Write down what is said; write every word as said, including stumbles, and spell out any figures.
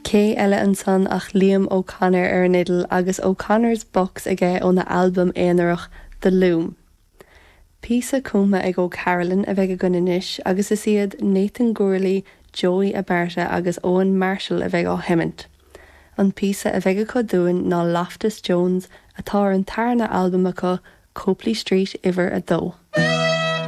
Cé eile ansan ach Liam O'Connor ar an fhidil agus O'Connor's Box aige óna albam aonarach The Loom. Píosa cumtha ag O'Carolan a bheidh againn anois agus is iad Nathan Gourley, Joey Abarta agus Owen Marshall a bheidh á sheimint. An píosa a bheidh acu dúinn ná Loftus Jones atá ar an tarna albam acu Copley Street uimhir a dó.